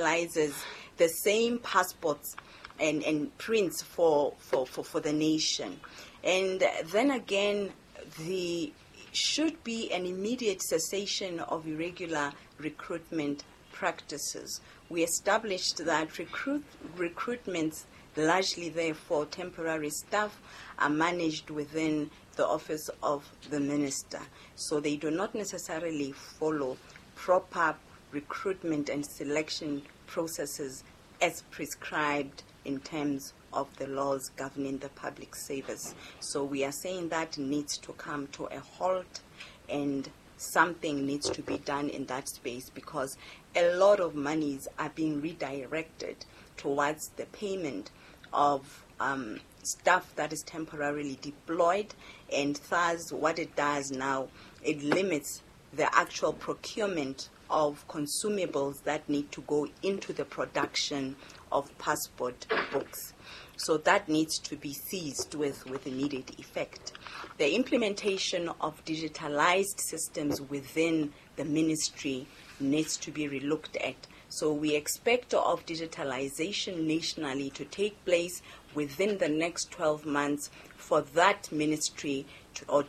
utilizes the same passports and prints for the nation. And then again, there should be an immediate cessation of irregular recruitment practices. We established that recruitments, largely therefore temporary staff, are managed within the office of the minister. So they do not necessarily follow proper recruitment and selection processes as prescribed in terms of the laws governing the public service. So we are saying that needs to come to a halt and something needs to be done in that space, because a lot of monies are being redirected towards the payment of staff that is temporarily deployed, and thus what it does now, it limits the actual procurement of consumables that need to go into the production of passport books. So that needs to be seized with immediate effect. The implementation of digitalized systems within the ministry needs to be relooked at. So we expect of digitalization nationally to take place within the next 12 months for that ministry to, or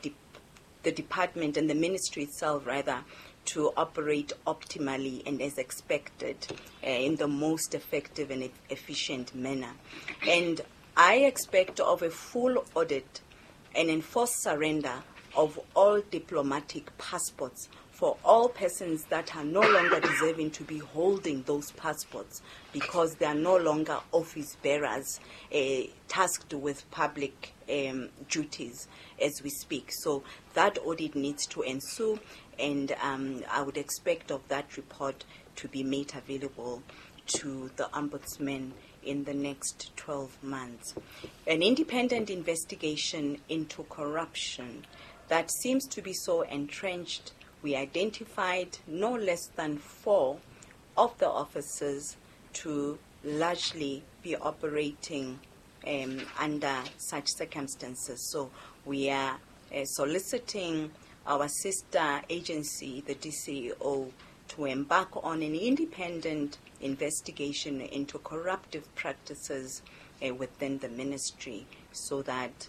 the department and the ministry itself rather, to operate optimally and as expected in the most effective and efficient manner. And I expect of a full audit and enforced surrender of all diplomatic passports for all persons that are no longer deserving to be holding those passports because they are no longer office bearers tasked with public duties as we speak. So that audit needs to ensue, and I would expect of that report to be made available to the Ombudsman in the next 12 months. An independent investigation into corruption that seems to be so entrenched. We identified no less than 4 of the officers to largely be operating under such circumstances. So we are soliciting our sister agency, the DCEO, to embark on an independent investigation into corruptive practices within the ministry so that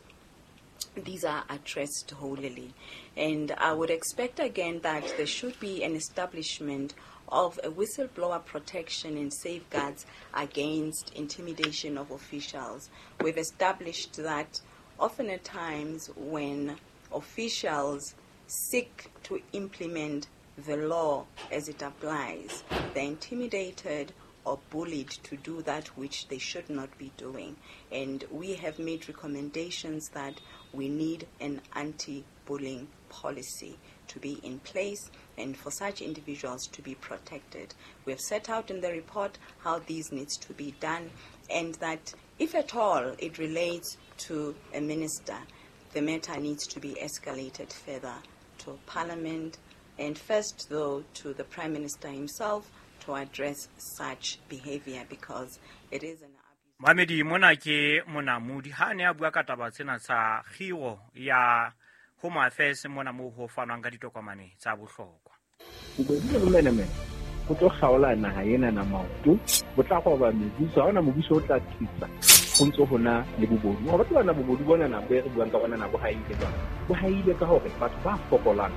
these are addressed wholly. And I would expect again that there should be an establishment of a whistleblower protection and safeguards against intimidation of officials. We've established that often at times when officials seek to implement the law as it applies, they're intimidated or bullied to do that which they should not be doing. And we have made recommendations that we need an anti-bullying policy to be in place and for such individuals to be protected. We have set out in the report how these needs to be done, and that if at all it relates to a minister, the matter needs to be escalated further to Parliament, and first though to the Prime Minister himself to address such behavior, because it is an abuse. Mamedi mona ke monamudi ha ne a bua ka taba tsena tsa kgiro ya Home Affairs mona mo ho fanwang ka ditokomane tsa bohlokwa. Bobodu le bomenemene go tlo kgaola naha ena na maoto, bo tla goba mebuso, ha hona mobuso o tla thusa go ntse ho na le bobodu. Ho batla bana bobodu bona na bo re buang ka bona na bo haile jwang. Bo haile ka hore batho ba fokolang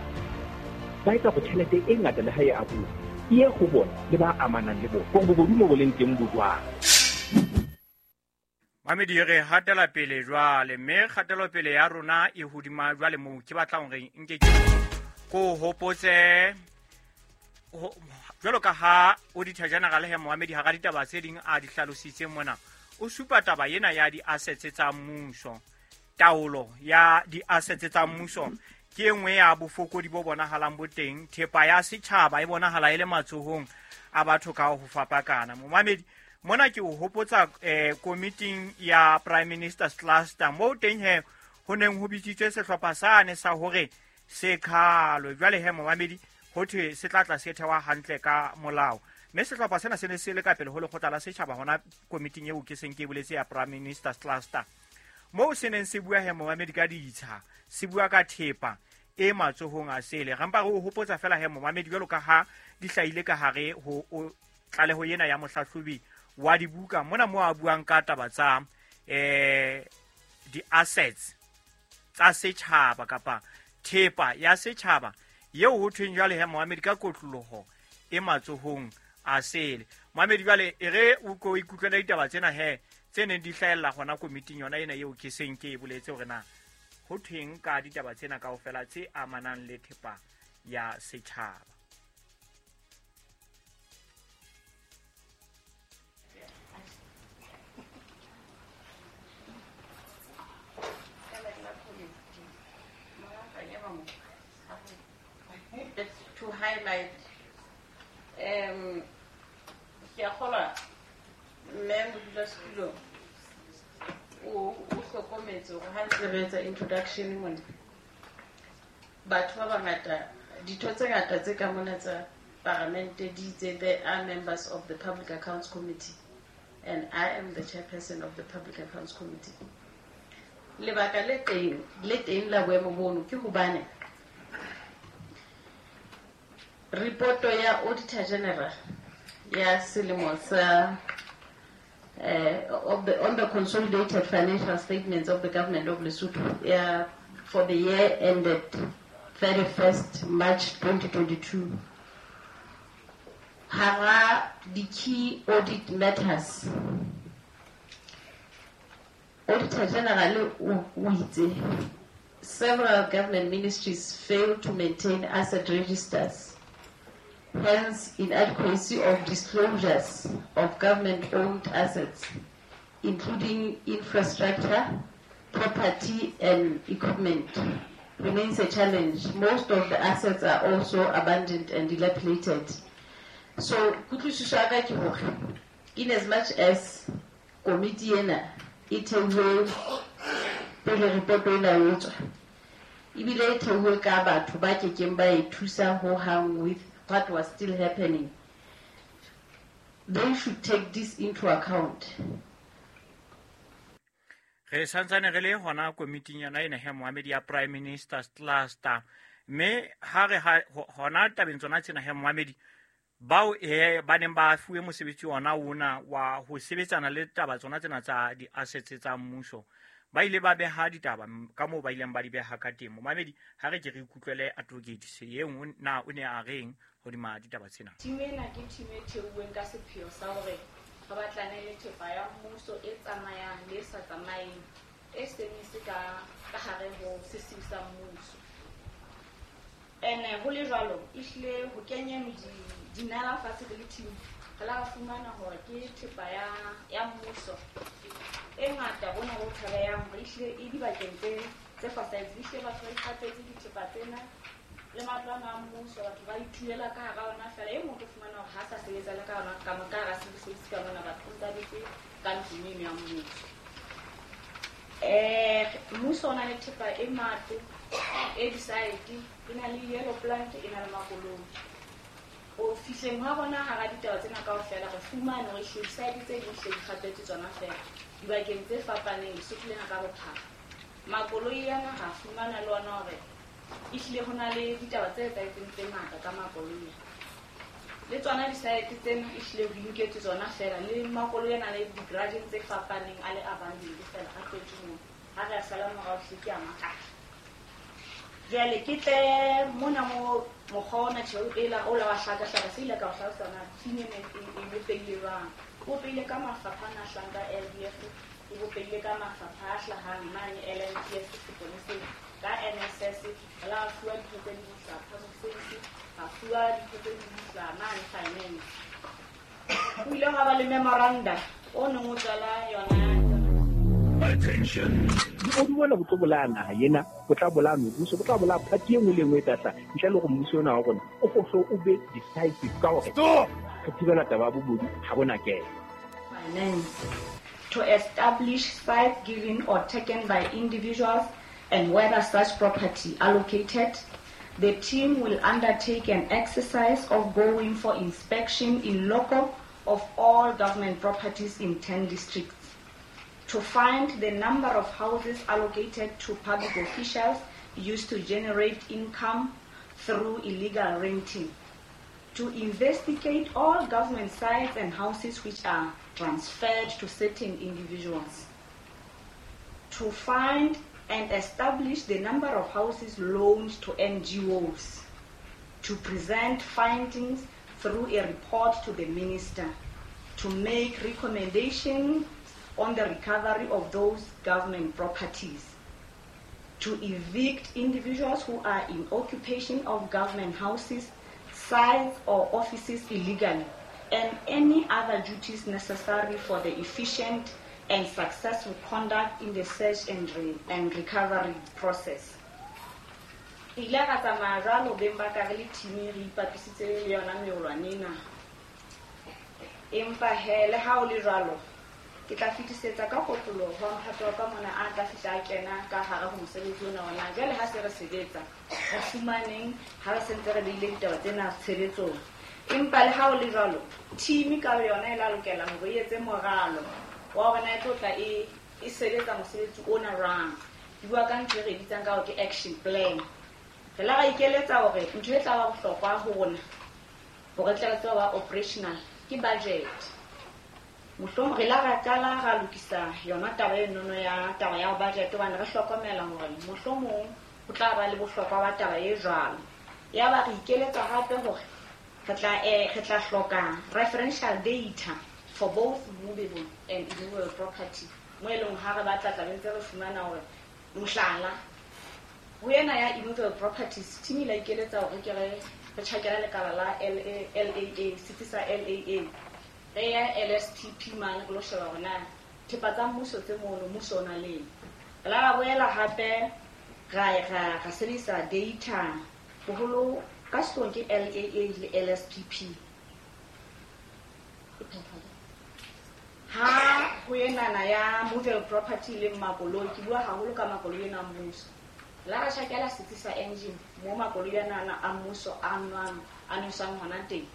ba etsa go tjhelete e ngata le ha e abuwa e ye go bona le ba amanang le bona. Gore bobodu mo bo leng teng bo jwang. Mamedi re hatela pele jwale, mme kgatelopele ya rona e hodima jwale moo ke batlang hore nke ke ko hopotse jwalo ka ha Auditor General he Mohamedi hara ditaba tse ding a di hlalositse mona, o supa taba ena ya di-assets tsa mmuso. Taolo ya di-assets tsa mmuso ke e nngwe ya bofokodi bo bonahalang bo teng. Thepa ya setjhaba e bonahala e le matsohong a batho ka ho fapakana. Mohamedi mona ke o hopotsa committee ya Prime Minister's Cluster moo teng he ho neng ho bitsitswe sehlopha sane sa hore se khalwe. Jwale he Mohamedi ho thwe se tla tla se thewa hantle ka molao, mme sehlopha sena se ne se le ka pele ho lekgotla la setjhaba hona committee eo ke seng ke boletse ya Prime Minister's Cluster, moo se neng se bua he Mohamedi ka ditsha, se bua ka thepa e matsohong a sele. Re mpa re o hopotsa fela he Mohamedi jwalo ka ha di hlahile ka hare ho tlaleho ena ya mohlahlobi wa dibuka mona mo a buang ka taba tsa di-assets tsa setjhaba kapa thepa ya setjhaba eo ho thweng jwale he Mohamedi ka kotloloho e matsohong a sele. Mohamedi jwale e re o ko ikutlwela ditaba tsena he tse neng di hlahella hona komiting yona ena eo ke seng ke e boletse hore na ho thweng ka ditaba tsena kaofela tse amanang le thepa ya setjhaba. To highlight ke a kgolwa mme modulasetulo o hlokometse hore ha ntse re etsa introduction mona batho ba bangata ditho tse ngata tse ka mona tsa paramente di itse they are members of the Public Accounts Committee and I am the chairperson of the Public Accounts Committee. Lebaka le teng la boemo bono ke hobane reporto ya Auditor General ya selemo sa on the consolidated financial statements of the government of Lesotho for the year ended 31st March 2022. Hara the key audit matters. Auditor General o itse several government ministries fail to maintain asset registers. Hence, inadequacy of disclosures of government-owned assets, including infrastructure, property, and equipment, remains a challenge. Most of the assets are also abandoned and dilapidated. So, kutlwisiso ya ka ke hore, in as much as committee ena e theuwe pele report ena e tswa, ebile e theuwe ka batho ba kekeng ba e thusa ho hang with what was still happening, they should take this into account. Re santsane re le hona komiting yona ena he Mohamedi ya Prime Minister's Cluster, mme ha re hona tabeng tsona tsena he Mohamedi bao ba neng ba fuwe mosebetsi ona ona wa ho sebetsana le taba tsona tsena tsa di-assets tsa mmuso ba ile ba beha ditaba ka moo ba ileng ba di beha ka teng. Mohamedi ha re ke re ikutlwele advocate se e nngwe na o ne a reng hodima ditaba tsena. Team ena ke team e theuweng ka sepheo sa hore re batlane le thepa ya mmuso e tsamayang le e sa tsamayeng e seng e se ka hare ho sesiu sa mmuso. Ene ho le jwalo ehlile ho kenyeng dinala fatshe le team re la fumana hore ke thepa ya mmuso e ngata bona ho thabeyang hore ehlile e dibakeng tse fosahetseng. Ehlile batho ba ikgapetse dithepa tsena le matlo ana a mmuso, batho ba ithulela ka hara ona fela. E mong o fumana hore ha sa sebetsa le ka ona ka hara civil service ka mona, batho o ntsa dutse ka ntlong eno ya mmuso. Mmuso o na le thepa e matlo e di-site, e na le yellow plant, e na le makoloi. O fihleng ha rona hara ditaba tsena kaofela re fumane hore ehlile di-site tse ding hle di kgapetswe tsona fela dibakeng tse fapaneng Lesotho lena ka bophara. Makoloi ana ra fumana le ona hore ehlile ho na le ditaba tse etsahetseng tse ngata ka makoloi. Le tsona di-site tsena ehlile ho inketswe tsona fela, le makoloi ana le di-garageng tse fapaneng a le abandoned fela a tletse moo. Ha re a sala morao hle ke a makala. Jwale ke tle mona mo mokgwa ona tjhe ela o la wa hlakahlaka se ile ka o hlalosa na team ena e bopehile jwang. O bopehile ka mafapha ana a hlahang ka LDF, e bopehile ka mafapha a hlahang mane LNTS seponeseng, ka NSS re la fuwa ditho tse ding hlaha public service, ra fuwa ditho tse ding hlaha mane finance. Ho ile hwa ba le memoranda o neng o tswala yona. Attention. Bobodu bona bo tlo bolaya naha ena, bo tla bolaya mebuso, bo tla bolaya party e nngwe le nngwe e tla hlaha. Ntle le hore mmuso ona wa rona o hlo o be decisive ka hore re thibela taba ya bobodu ha bona kena. Finance to establish sites given or taken by individuals and whether such property allocated. The team will undertake an exercise of going for inspection in loco of all government properties in 10 districts to find the number of houses allocated to public officials used to generate income through illegal renting, To investigate all government sites and houses which are transferred to certain individuals. To find and establish the number of houses loaned to NGOs. To present findings through a report to the minister. To make recommendations on the recovery of those government properties. To evict individuals who are in occupation of government houses, sites or offices illegally, and any other duties necessary for the efficient and successful conduct in the search and recovery process. Re ile ra tsamaya jwalo beng ba ka re le team re ipapisitse le yona meolwane ena. Empa he le ha o le jwalo, ke tla fetisetsa ka kotloloho ho mphato wa ka mona a tla fihla a kena ka hare ho mosebetsi ona wa na. Jwale ha se re sebetsa, re fumaneng ha re sentse re beile ditaba tsena tshebetsong. Empa le ha o le jwalo, team ka yona e la lokela hore e etse moralo wa hore na e tlo tla e sebetsa mosebetsi ona jwang. Ke bua ka ntho e re e bitsang ka hore ke action plan. Re la ra ikeletsa hore ntho e tla ba bohlokwa ho rona hore re tle re tsebe ho ba operational ke budget. Mohlomong re la ra qala ra lokisa yona taba enono ya taba ya budget hobane re hlokomela hore mohlomong ho tla ba le bohlokwa ba taba e jwalo. Ya ba re ikeletsa hape hore re tla hloka referential data for both movable and immovable property. Mo e leng ha re batla tla be ntse re fumana hore mohlala ho ena ya immovable properties team e la ikeletsa hore ke re tjhakela lekala la LAA, setsi sa LAA. Re ya LSPP mane re lo sheba hore na thepa tsa mmuso tse mono mmuso o na le eng. Re la ra boela hape ra sebedisa data boholo ka sehloohong ke LAA le LSPP. Ha ho enana ya movable property le makoloi, ke bua haholo ka makoloi ena a mmuso. La ra tjhakela setsi sa engine mo makoloi ana a mmuso a nwang a nweswang hona teng.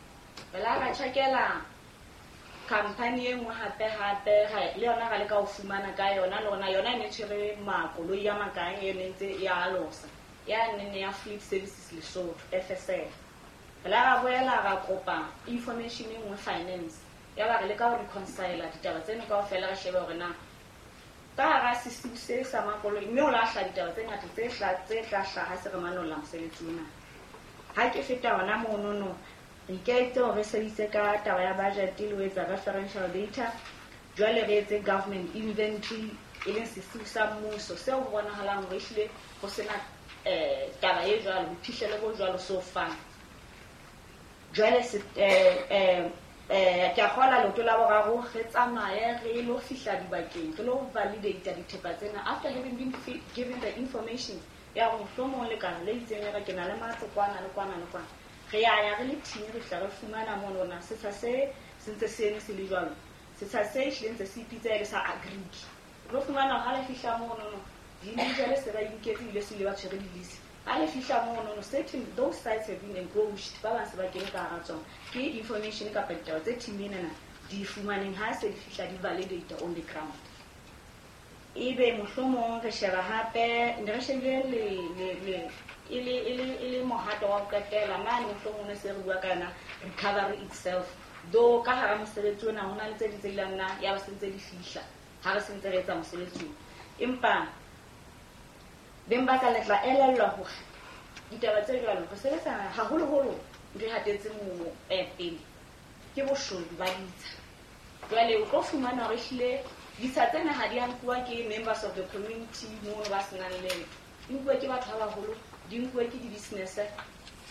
Re la ra tjhakela company e nngwe hape hape le yona ra leka ho fumana ka yona le yona yona e ne tshwere makoloi a makae e ne ntse e a alosa ya nene ya Fleet Services Lesotho FSL. Re la ra boela ra kopa information e nngwe finance ya ba re leka ho reconcile ditaba tseno kaofela re shebe hore na ka hara sesiu se sa makoloi mme o la hla ditaba tse ngata tse tla hlaha se re manolla mosebetsi ona. Ha ke feta hona monono re ikaeletse hore re sebedise ka taba ya budget le ho etsa referential data. Jwale re etse government inventory e leng sesiu sa mmuso seo ho bonahalang hore ehlile ho sena taba e jwalo, boiphihlelo bo jwalo so far. Jwale ke a kgola leoto la boraro re tsamaye re lo fihla dibakeng re lo validate dithepa tsena after having been given the information ya hore mohlomong lekala le itseng le re ke na le matlo kwana le kwana le kwana. Re ya ya re le team re fihla re fumana mono hore na setsha se se ntse se eme se le jwalo, setsha se ehlile ntse se ipitsa e le sa agric. Re lo fumana ha le fihla mono di-individual se ba inketse ebile se ile ba tshwere di-lease. Ha le fihla mono no certain those sites have been encroached, ba bang se ba kene ka hara tsona. Ke information kapa ditaba tse team enana di fumaneng ha se di fihla di validate on the ground. Ebe mohlomong re sheba hape ne re shebile le e le mohato wa ho qetela mane mohlomong ne se re bua ka yona recovery itself. Though ka hara mosebetsi ona ho na le tse ding tse ileng nna ya ba se ntse di fihla ha re sentse re etsa mosebetsi ona. Empa beng ba ka le tla elellwa hore ditaba tse jwalo re sebetsa haholoholo ntho e hatetseng pele ke boshodu ba ditsha. Jwale o tlo fumana hore ehlile ditsha tsena ha di a nkuwa ke members of the community mono ba senang letho, di nkuwe ke batho ba baholo, di nkuwe ke di-business.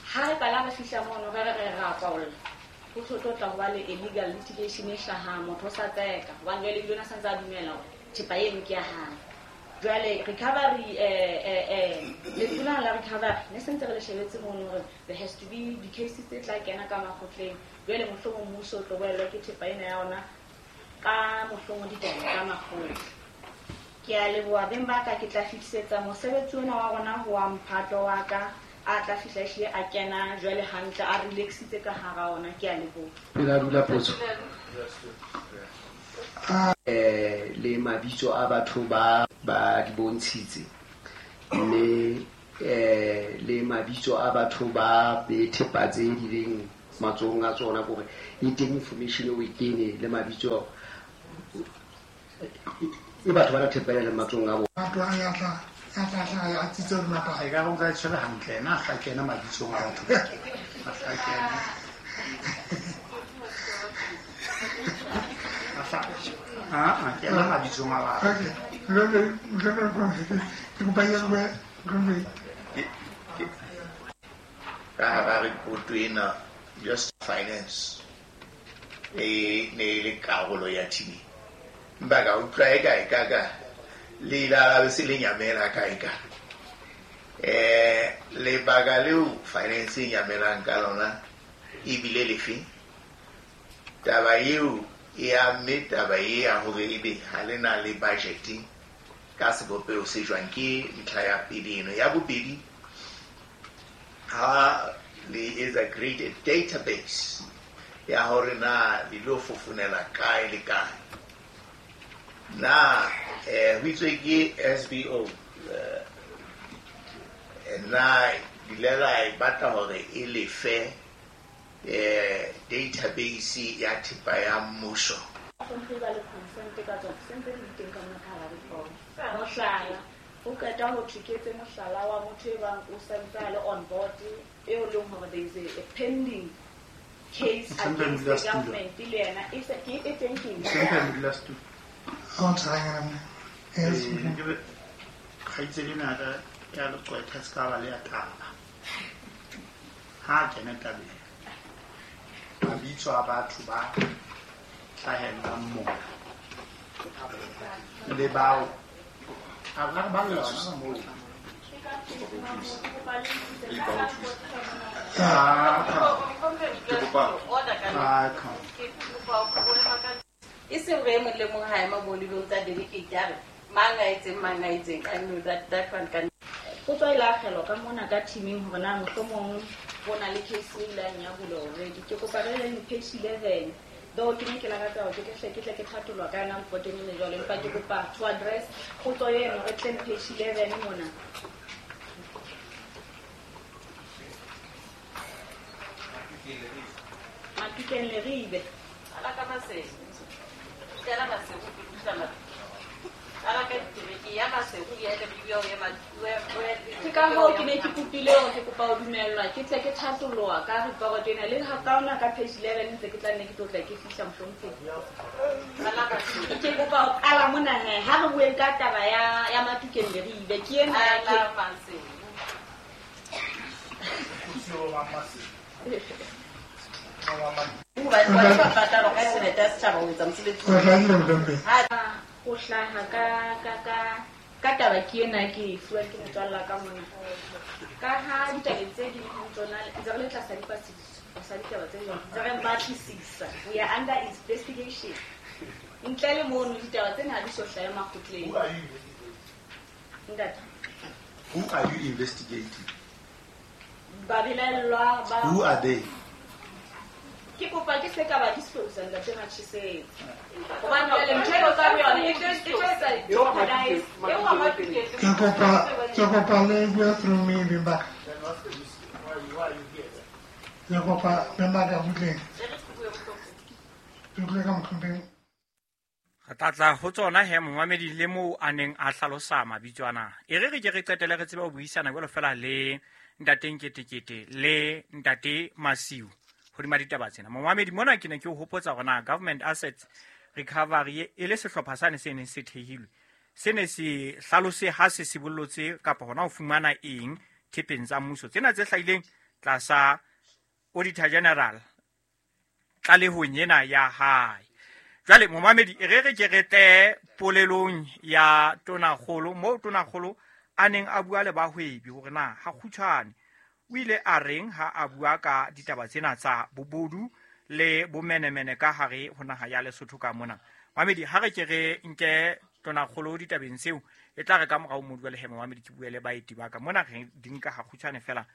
Ha re qala re fihla mono re re re ra kwaolla, ho tlo tla ho ba le illegal litigation e hlahang, motho o sa tseka hobane jwale ebile o na santse a dumela hore thepa eno ke ya hae. Jwale recovery letona la recovery ne sentse re le shebetse mono hore there has to be di-cases tse tla kena ka makgotleng. Jwale mohlomong mmuso o tlo boellwa ke thepa ena ya ona ka mohlomong ditaba tsa makgotla. Ke a leboha beng ba ka, ke tla fetisetsa mosebetsi ona wa rona ho wa mphato wa ka a tla fihla ehlile a kena jwale hantle a relaxitse ka hara ona. Ke a leboha. Pele a dula potso. Le mabitso a batho ba di bontshitse mme le mabitso a batho ba be thepa tse di leng matsohong a tsona hore e teng information o e kene le mabitso e batho ba na thepa le matsohong a bona. Batho a ya tla a tsitse re mapa e ka go ka tshwere hantle ena a kena mabitsong a batho a tla kena a kena mabitsong a batho. Okay, ka hara report ena just finance e ne le karolo ya team empa ka utlwa e kae ka ka le la se le nyamela kae ka lebaka leo finance e nyamelang ka lona ebile lefe taba eo e amme taba e ya hore ebe ha le na le budget ka sebopeho se jwang ke ntlha ya pele eno. Ya bobedi, ha le etsa create database ya hore na le lo fofonela kae le kae na ho itswe ke SBO na dilela e batla hore e lefe database ya thepa ya mmuso. Mohlala o qeta ho theketse mohlala wa motho e bang o santse a le on board eo leng hore there is a pending case against the government le yena e se ke e teng ke kgaitsedi ena ka ya leqwetha se ka ba le ya taba ha kena tabeng mabitso a batho ba hlahellang mona le bao a ba le yona moo. E seng re mong le mong ha ema mo lebeng tsa delegate a re mang a etseng I know that one can potso e la akgelwa ka mona ka teaming hore na mohlomong ho na le case e ileng ya bulwa already. Ke kopa re leng page 11 though ke ne ke lakatsa hore ke tle ke thatolwa ka yona mpoteng ene jwalo, empa ke kopa to address potso eno re tleng page 11 mona. Matukeng Leribe ala ka Maseru tela Maseru ke busa ala ka ditereke ya Maseru ya Leribe o ya ke ka hoo ke ne ke kopile hore ke kopa ho dumellwa ke tle ke thatoloha ka report ena le ha ka ona ka page 11 ntse ke tla nne ke tlo tla ke fihla mohlompheng. Ke kopa ho qala mona he ha re bueng ka taba ya Matukeng Leribe ke ena ya ke Maseru ho hlaha ka taba ke ena ke e fuwa ke motswalla ka mona ka ha ditabeng tse ding ho tsona ntse re le tlasa dipatlisiso sa ditaba tse jwang ntse re batlisisa, we are under investigation ntle le mono ditaba tsena ha di so hlahe makgotleng. Ntate, who are you investigating? Babelaellwa ba who are they? Ke kopa ke se ka ba disclose ntate Matjhesetse hobane jwale ntho eo ka yona e tlo etsa jeopardize Ke kopa le bua through me bimba. Ke kopa bimba ka butleng. Ke ka motlhompeng. Re tla ho tsona he momamedi le moo a neng a hlalosa mabitso ana. E re re ke re qetele re tsebe ho buisana jwalo fela le ntate Nketekete le ntate Masiu hodima ditaba tsena. Momamedi mona ke ne ke o hopotsa hore na Government Assets Recovery e le sehlopha sane se neng se thehilwe se ne se hlalose ha se sibollotse kapa hona ho fumana eng thepeng tsa mmuso tsena tse hlahileng tlasa Auditor General tlalehong ena ya hae. Jwale momamedi e re re ke re tle polelong ya Tonakgolo moo Tonakgolo a neng a bua le bahwebi hore na ha kgutshwane o ile a reng ha a bua ka ditaba tsena tsa bobodu le bomenemene ka hare ho naha ya Lesotho ka mona. Mamedi ha re ke re nke Tonakgolo ditabeng tseo e tla re ka morao mo bua le he momamedi ke bue le baeti ba ka mona re di nka ha kgutshwane fela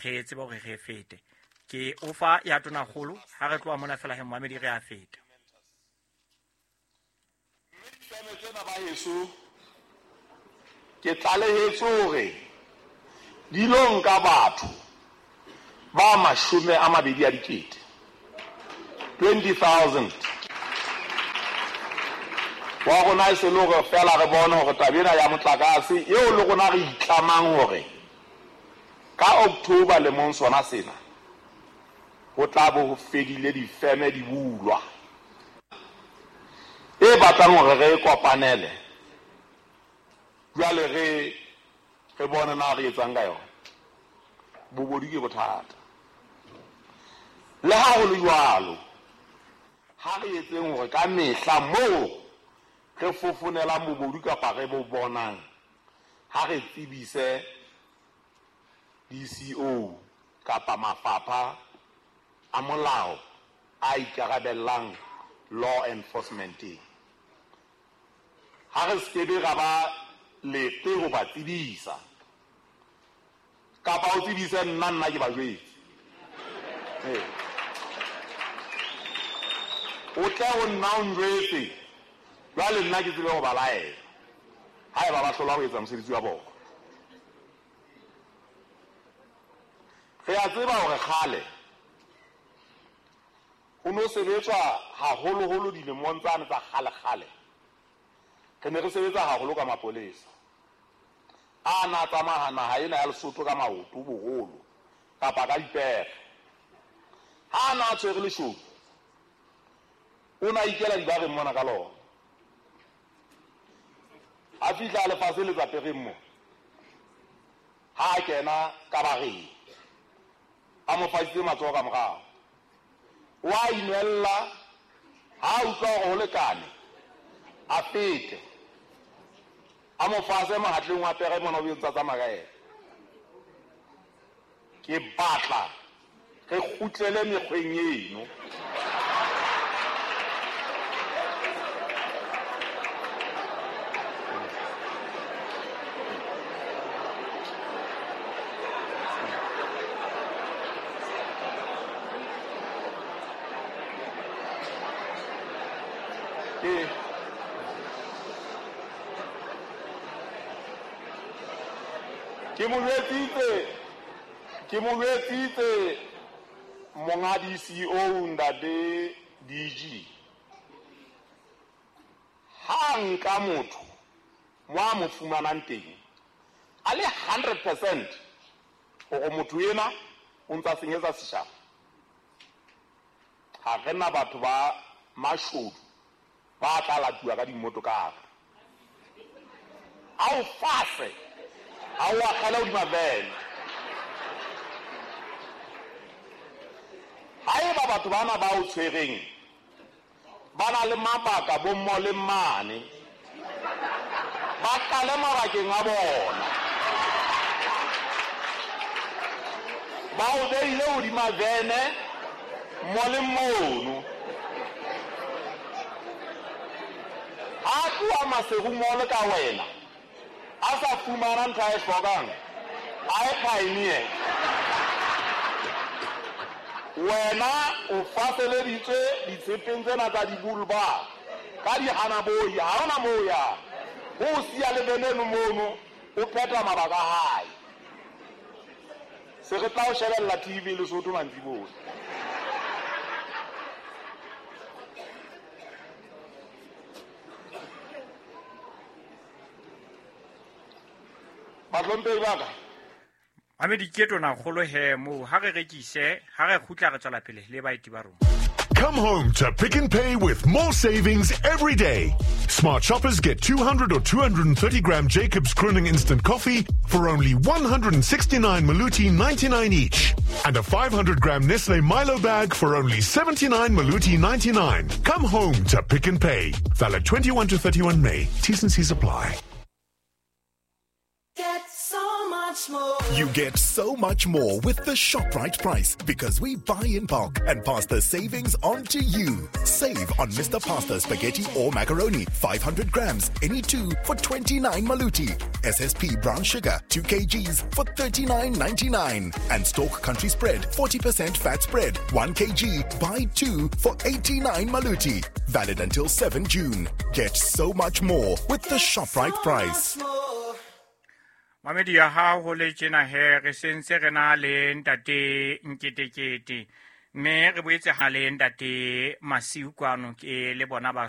re tsebe hore re fete. Ke ofa ya Tonakgolo ha re tloha mona fela he momamedi re a feta. Ke tlalehetse hore di lo nka batho Ba 20,000, 20,000. Wa rona e se le hore fela re bone hore taba ena ya motlakase eo le rona re itlamang hore ka October lemong sona sena ho tla bo ho fedile difeme di bulwa. E batlang hore re kopanele jwale re bone na re etsang ka yona. Bobodu ke bothata. Le ha ho le jwalo, ha re etseng hore ka mehla moo re fofonelang bobodu kapa re bo bonang, ha re tsebise DCO kapa mafapha a molao a ikarabellang law enforcement. Ha re skebe ra ba lete ho ba tsebisa kapa o tsebise nna ke ba jwetse. O tle ho nna o njwetse, jwale nna ke tsebe ho ba laela haeba ba hlola ho etsa mosebetsi wa bona. Re a tseba hore kgale ho no sebetswa haholoholo dilemong tsane tsa kgale-kgale. Re ne re sebetsa haholo ka mapolesa a na tsamaya naha ena ya Lesotho ka maoto boholo kapa ka dipere. Ha na tshwere leshodu, o na ikela dibareng mona ka lona. A fihla lefatshe le tsa pereng mo, ha a kena ka bareng a mo fasitse matsoho ka morao, wa inwella. Ha utlwa hore ho lekane, a fete a mo fase mohatleng wa pere mona o ntsa tsamaya ka yena. Ke batla re kgutlele mekgweng eno. Ke mo jwetsitse monga DCO ntate DG, ha nka motho mo a mo fumanang teng a le 100% hore motho ena o ntsa senyetsa setjhaba. Ha re na batho ba mashodu ba tla latuwa ka dimotokara, a o fase a o akgela hodima vene. Haeba batho bana ba o tshwereng ba na le mabaka bo mmo le mmane, ba qale mabakeng a bona. Ba o beile hodima vene mo le mono. Ha tloha Maseru mole ka wena a sa fumana ntho a e hlokang, a e pioneer. Wena o faseleditswe ditshepeng tsena tsa dibulba ka dihanaboi, ha hona moo ya ho siya le veneno mono, o phetha mabaka a hae. Se re tla o shebella TV Lesotho mantsiboya. Bahlomphehi ba ka, Mamedi ke tona kgolo he moo ha re rekise, ha re kgutla re tswela pele le baeti ba rona. Come home to Pick n Pay with more savings every day. Smart shoppers get 200 or 230 gram Jacobs Crooning Instant Coffee for only 169 Maluti 99 each. And a 500 gram Nestle Milo bag for only 79 Maluti 99. Come home to Pick n Pay. Valid 21 to 31 May. T's and C's apply. Get so much more. You get so much more with the ShopRite price because we buy in bulk and pass the savings on to you. Save on Mr. Pasta spaghetti or macaroni, 500 grams, any two for 29 Maluti. SSP brown sugar, 2 kgs for 39.99. And Stork Country Spread, 40% fat spread, 1 kg, buy 2 for 89 Maluti. Valid until 7 June. Get so much more with the ShopRite price. Mamedi ya hao ho le tjena he re sentse re na le ntate Nketekete, mme re boetse ha le ntate Masiu kwano ke le bona ba.